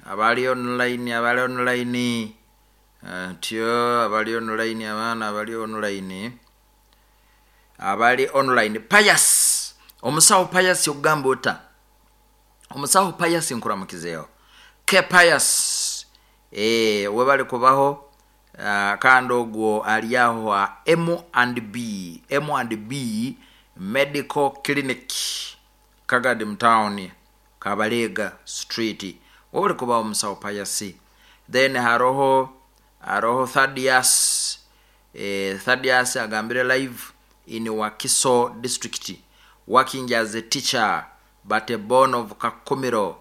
Abali online, abali online, ntyo abali online, abaana abali online, abali online. Pius, omusawo Pius, okugamba ota omusawo Pius? Nkuramukizeeho ke Pius. Webali kubaho. Kandi ogwo ali aho ha M and B, M and B Medical Clinic, Kagadi Town, Kabalega Street. Webali kubaho, omusawo Pius. Then haroho Thadias. Thadias agambire live in Wakiso District, working as a teacher but a born of Kakumiro.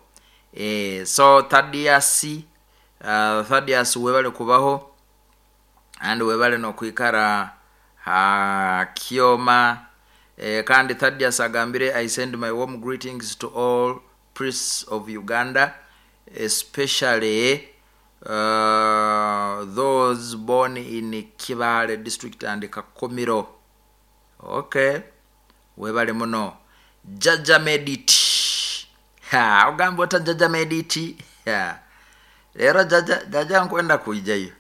So Thadias, Thadias, webale kubaho and webale nokwikara ha Kyoma. Kandi Thadias agambire, "I send my warm greetings to all priests of Uganda, especially those born in Kibale District and Kakumiro." Okay, webale muno. Jaja Medit, ha, ogamba ota Jaja Medit? Ha. Rero jaja, jaja nkwenda kuijayo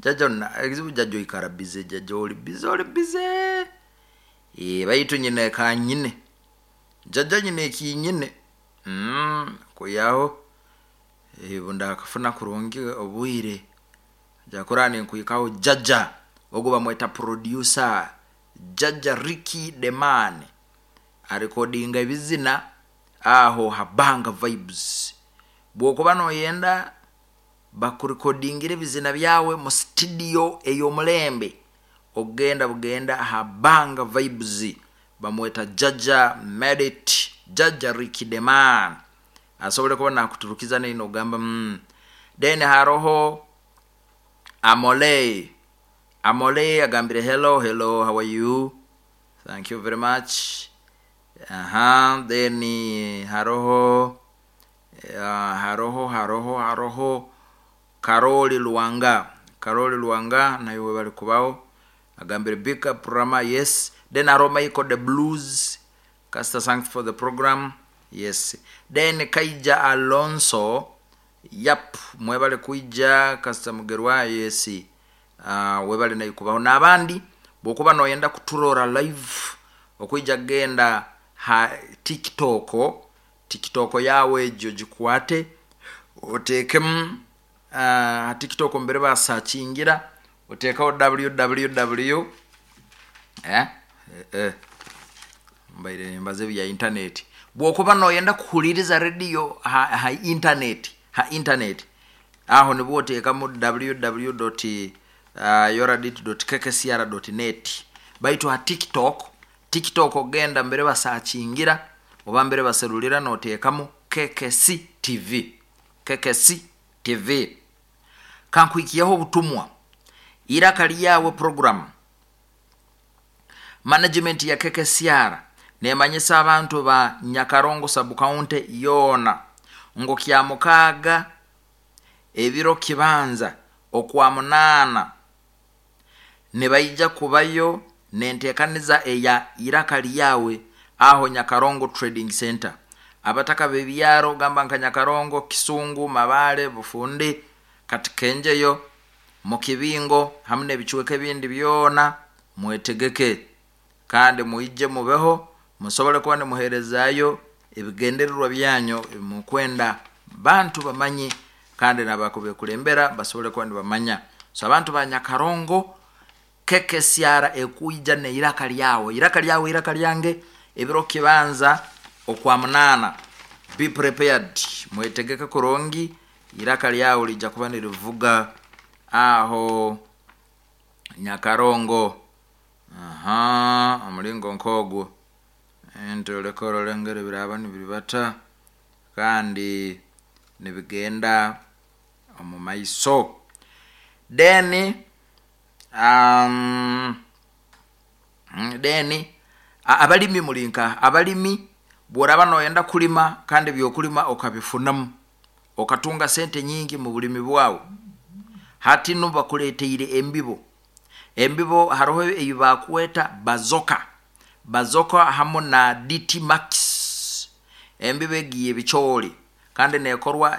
jaja. Ekizibu jaja oikara busy. Jaja oli busy, oli busy. Baitu nyine kanyine jaja, nyine ekinyine kuyaho bundakafuna kurungi obwire jakura ninkuhikaho. Jaja ogwo bamweta producer Jaja Ricky Deman, arekodinga ebizina aho habanga Vibes. Bwokuba noyenda bakurekodingira ebizina byawe mu studio ey'omulembe, ogenda bugenda habanga Vibes, bamweta Jaja Medit, Jaja Ricky Deman, asobole kuba nakuturukiza neino ogamba. Then haroho Amole. Amole agambire, "Hello, hello, how are you? Thank you very much." Aha, then haroho haroho Karoli Luwanga. Karoli Luwanga nayo bali kubaho, agambire, "Big up, Rama." Yes. Then haroho Michael the Blues Caster, "Thanks for the program." Yes. Then Kaija Alonso, yap, mwebale kuija Kasita Mugerwa. Yes. Webale nayo kubaho. N'abandi bwokuba noyenda kuturora live, okuija genda ha TikTok. TikTok yawe egyo gikwate, oteekemu TikTok mbere basakingira, oteekaho www mbaire nimbaza ebya internet. Bwokuba noyenda kuhuliriza radio ha internet, ha internet aho nibwo oteekamu www yoradit kkcr net. Baitu ha TikTok, TikTok ogenda mbere basakingira oba mbere baserulira, noteekamu KKC TV, KKC TV. Kankuhikiyaho obutumwa. Iraka lyawe program, management ya KKCR nemanyisa abantu ba Nyakarongo Subcounty yoona ngo kya 6, ebiro kibanza okwa 8, nibaija kubayo nenteekaniza eya Iraka Lyawe aho Nyakarongo Trading Center. Abataka bebyaro, gamba nka Nyakarongo, Kisungu, Mabale, Bufundi, Katikenjeyo, Mukibingo hamu n'ebicweka ebindi byona, mwetegeke kandi mwije mubeho, musobole kuba nimuherezayo ebigendererwa byanyu mukwenda bantu bamanye kandi nabakubekulembera basobole kuba nibamanya. So abantu ba Nyakarongo, KKCR ekuija neiraka lyawe, iraka lyawe, iraka lyange, ebiro kibanza okwa 8. Be prepared, mwetegeke kurungi, iraka lyawe lijja kuba nirivuga aho Nyakarongo. Aha, omulingo nkogwo nti oleka orolengere biraba nibiribata kandi nibigenda omu maiso. Then then abalimi mulinka abalimi, bworaba noyenda kulima kandi byokulima okabifunamu, okatunga sente nyingi mu bulimi bwawe, hati nu bakuleteire embibo. Embibo haroho eyi bakweta Bazoka, Bazoka hamu na DT Max. Embibo egi yebicooli kandi nekorwa.